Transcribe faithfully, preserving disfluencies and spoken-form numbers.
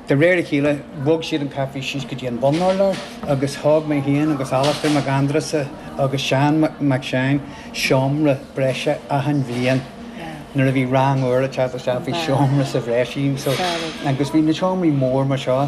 De réir a chéile bhog siad an caife síos go dtí an bunurlár agus thóg mé féin agus Alastair Mac Aindreasa agus Seán Mac Seáin seomra breise achan bhliain. Nuair a bhí rang úr ag teacht isteach bhí seomra sa bhreis so agus bhí na seomraí mór mar seo